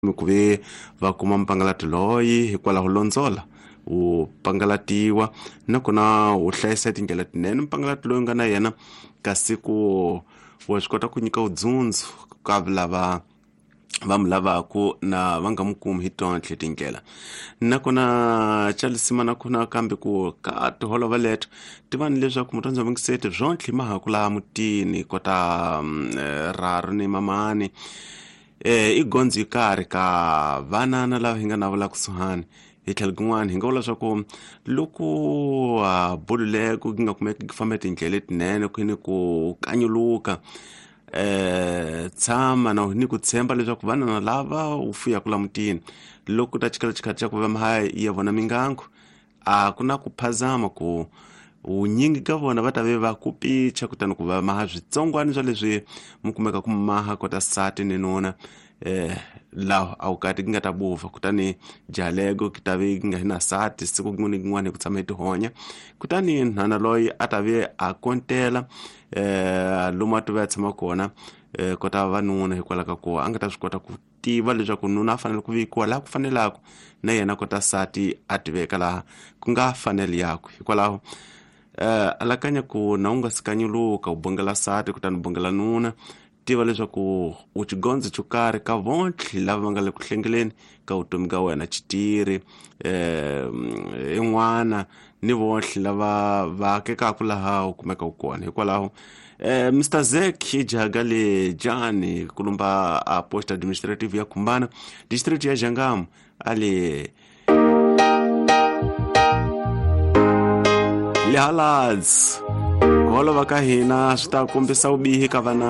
Ku ve va kuma mpangalati loyi hikwalaho londzola wu pangalatiwa nakona wu hlayisa tindlela tinene mpangalati loyi nga na yena, kasi ku wa swi kota ku nyika vudzundzu ka lava va mu lavaku na va nga mu kumi hi tontlhe tindlela. Nakona xa lisima nakona kambe ku ka tiholova leto tivani leswaku mutanzi wa mingiseti byontlhe mahaku laha mutini kota raru ni mamani i gondzo yo karhi ka vanana lava hi nga na vula kusuhani. Hi tlhelo kun'wana hi nga vula leswaku loko bulu leko ku nga kumeki ku famba tindlela letinene ku ni ku kanyuluka, tshama na ni ku tshemba leswaku vanana lava u fuyaka la mutini loko ta chikela xikhathi xa ku va maha ya vona mingangu, a ku na ku phazama ku vunyingi ka vona va ta ve va ku picha, kutani ku va maha switsongwana swa leswi mu kumeka ku maha kota sati ni nuna, laha a wukati ku nga ta buva, kutani jalego ki ta ve ki nga hi na sati siku kun'wana ni kun'wana hi ku tshama hi tihonya, kutani nhwana loyi a ta ve a kontela lomu a tive a tshama kona, kota vanuna, hikwalaho ka ku a nga ta swi kota ku tiva leswaku nuna a fanele ku vekiwa laha ku fanelaka na yena kota sati a tiveka laha ku nga faneli yakwe. Hikwalaho alakanya ku na u nga si kanyuluka u bongela sati kutani u bongela nuna, tiva leswaku u xigondzo xo karhi ka vontlhe lava va nga le ku hlengeleni ka vutomi ka wena, xitiri in'wana ni vontlhe lava va akekaka laha u kumekaka kona. Hikwalaho Mr Zek jaga le Jani kulumba a post administrative ya Khumbana, district ya Jangamu, ale Lehalads ku holova ka hina swi ta kombisa vubihi ka vana.